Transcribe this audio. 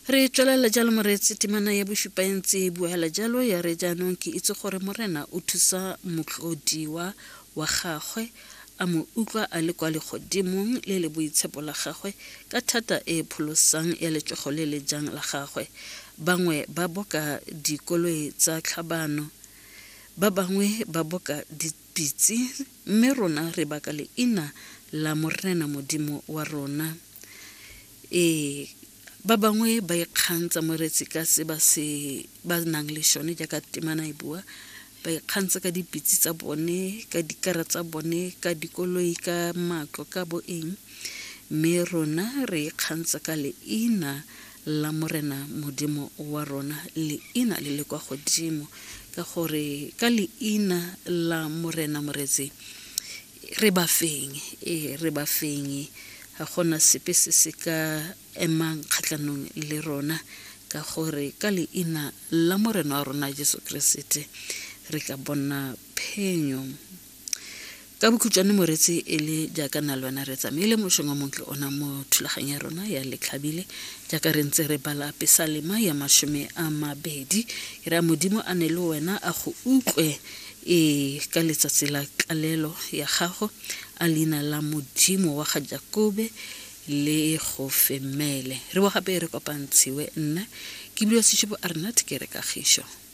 Re tswelela jalo moreetsi temana ya bosupa e ntse e buela jalo ya re jaanong ke itse gore morena o thusa motlodiwa wa gagwe a mo utlwa a le kwa legodimong le le boitshepo la gagwe ka thata e e pholosang ya letsogo le le jang la gagwe. Bangwe ba boka dikoloi tsa tlhabano, ba bangwe ba boka dipitse, mme rona re baka leina la Morena Modimo wa rona. Ee, ba bangwe ba ikgantsha moretsi ka se ba se ba nang le sone jaaka temana e bua ba ikgantsha ka dipitse tsa bone ka dikara tsa bone ka dikoloi ka matlo ka bo eng mme rona re ikgantsha ka leina la morena modimo wa rona leina le le kwa godimo ka gore ka leina la morena moretsi re ba feng ee re ba feng ga gona sepe se se ka emang kgatlhanong le rona ka gore ka leina la morena wa rona jesu keresete re ka bona phenyo ka bokhutshwane moretsi e le jaaka na le wena re tsamaile mošong wa montle ona mo thulaganyo ya rona ya letlhabile jaaka re ntse re bala pesalema ya 20 e re a modimo a ne le wena a go utlwe e ka letsatsi la tlalelo ya gago a leina la modimo wa ga jakobe le go femele re bo gape re kopantshiwe nna ke bua sešupo a rena ke re kagišo.